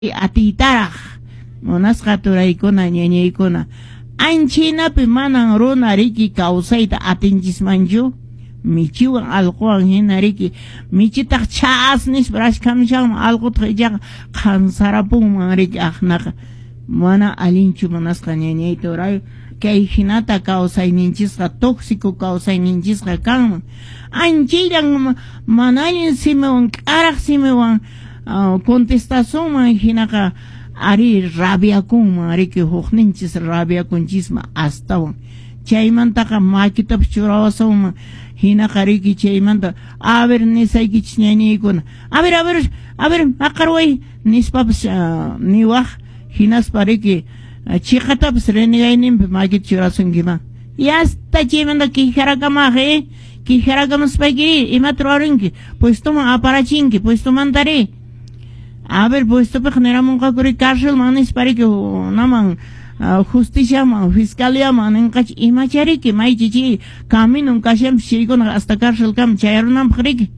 Atiytaraq munasqa turaykuna ñañaykuna, anchaynapi manan runa riki kawsayta atinchismanchu, michiwan alquwan hina riki, michitaq chas nispa rashkhamshanman, alqutaq ichaqa qhansarapunman riki, aqnaqa mana allinchu munasqa ñañay turay, kay hinata kawsayninchisqa tóxico kawsayninchisqa kanman, anchayllan mana allin simiwan k'araq simiwan contestasunman hinaqa ari rabiakunman riki, hukninchis rabiakunchisman astawan, chaymantaqa makitapas churawasunman hinaqa riki, chaymanta a ver nisaykichis ñañaykuna, a ver a ver a ver maqarway nispapas niwaq, hinaspa riki chiqatapas renegayninpi makita churasunkiman, yasta chaymanta quejarakamaj quejarakamuspayki imata ruwarinki, puestoman aparachinki, puestomantari a ver puestopiqa niramunqaku carcelman nispa riki, naman justiciaman fiscaliaman ninqachi imachariki maychi chay caminon kashanpis chaykunaqa hasta carcelkama chayarunanpaq riki,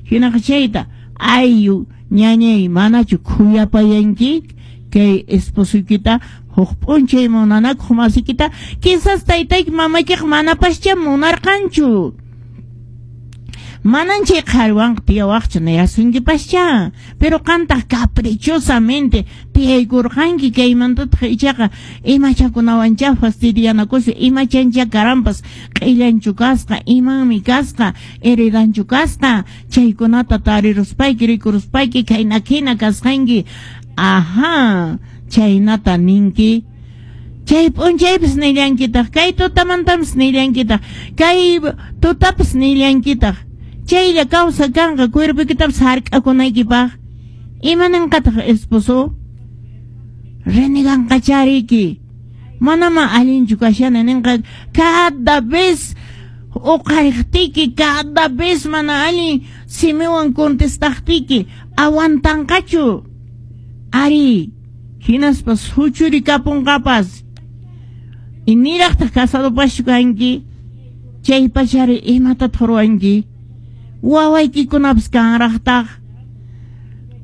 hinaqa chayta ayu ñañay manachu khuyapayanki kay esposoykita huk p'unchay munanakuq masikita, quizás taytayki mamaykiqa manapascha munarqanchu, manan chay qhariwanqa tiyawaqchu nirasunkipascha, pero qantaq caprichosamente tiyaykurqanki, kaymantataq ichaqa imachakunawancha fastidianakuspa imachancha karanpas q'illanchu kasqa, imanmi kasqa, heredanchu kasqa, chaykunata tariruspayki rikuruspayki khayna khina kasqanki, ajá chaynata ninki, chay p'unchaypis nillankitaq, kay tutamantapas nillankitaq, kay tutapas nillankitaq, chaylla kawsa kanqa cuerpoykitapas hark'akunaykipaq, imaninqataq esposo reneganqachariki, manama allinchu kashani ninqa, cada vez uqariqtiki, cada vez mana allin simiwan contestaqtiki aguantanqachu, ari hinaspa suchurikapunqapas, y niraqtaq casadopaschu kanki, chay pachari imatataq ruwanki, wawaykikunapas kanraqtaq,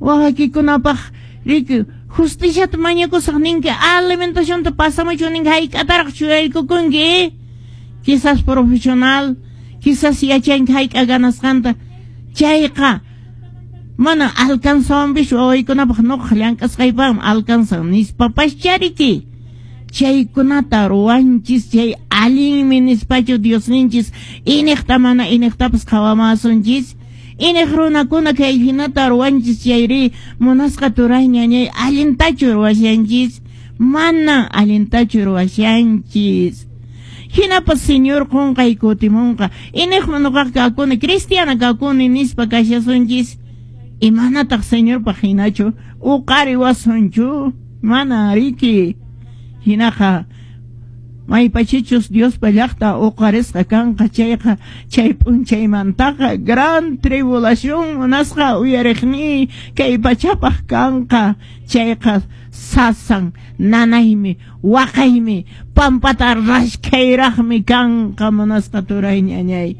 wawaykikunapaq riki justiciata mañakusaq ninki, alimentacionta pasamuchu ninki, hayk'ataraq churaykukunki, quizás profesional, quizás yachanki hayk'a ganasqanta, chayqa mana alcanzawanpichu wawaykunapaq nuqaq llank'asqaypaqmi alcanzan nispapaschariki, chaykunata ruwanchis, chay allinmi nispachu Diosninchis iniqta mana iniqtapas qhawamasunchis, iniq runakuna kay hinata ruwanchis chayri munasqa turay ñañay allintachu ruwashanchis, mana allintachu ruwashanchis. Hinapas Señor qunqay kutimunqa, iniqman nuqaq kakuni, cristiana kakuni nispa kashasunchis, imanataq Señorpaq hinachu uqariwasunchu, mana riki, hinaqa maypachichus Diospa llaqta uqarisqa kanqa chayqa chay p'unchaymantaqa gran tribulación munasqa uyariqni kay pachapaq kanqa, chayqa sasan nanaymi waqaymi pampata rashkayraqmi kanqa munasqa turay ñañay,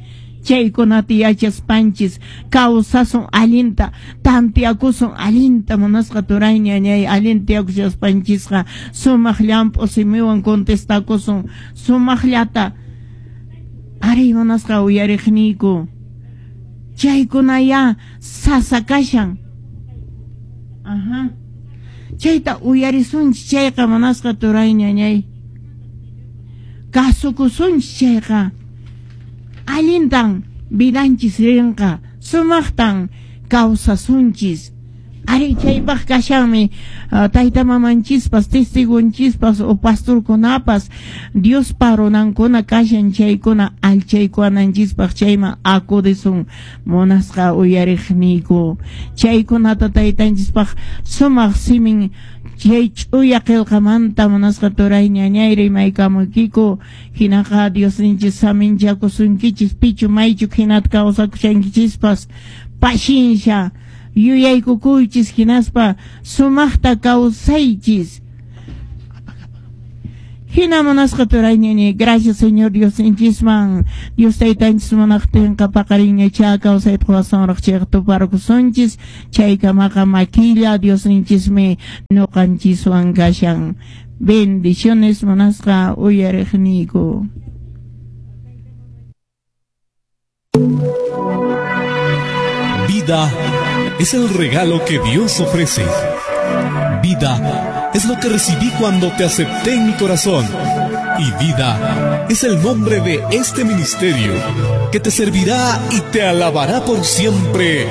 chaykunata yachaspanchis kawsasun allinta, tantiakusun allinta munasqa turay ñañay, allinta tiyakushaspanchisqa sumaq llamp'u simiwan contestakusun sumaqllata, ari munasqa uyariqniyku, chaykunaya sasa kashan, ajá, chayta uyarisunchis chayqa munasqa turay ñañay, kasukusunchis chayqa allintan vidanchis rinqa, sumaqtan kawsasunchis, ari chaypaq kashanmi tayta mamanchispas, testigunchispas o pastorkunapas Diospa runankuna kashan chaykuna allchaykuwananchispaq, chayman acudisun munasqa uyariqniyku, chaykunata taytanchispaq sumaq simin chay ch'uya qillqamanta munasqa turay ñañay rimaykamuykiku, hinaqa Diosninchis saminchakusunkichis, pichu maychu hinata kawsakushankichispas, paciencia yuyaykukuychis hinaspa sumaqta kawsaychis. Hina munasqa turayñini, gracias Señor Diosninchisman. Dios taytanchis munaqtinqa paqarinñachá kawsayta quwasunraq chayqa tuparkusunchis. Chaykamaqa makilla Diosninchismi ñuqanchiswan kashan. Bendiciones munasqa uyariqniyku. Vida es el regalo que Dios ofrece. Vida es lo que recibí cuando te acepté en mi corazón. Y vida es el nombre de este ministerio que te servirá y te alabará por siempre.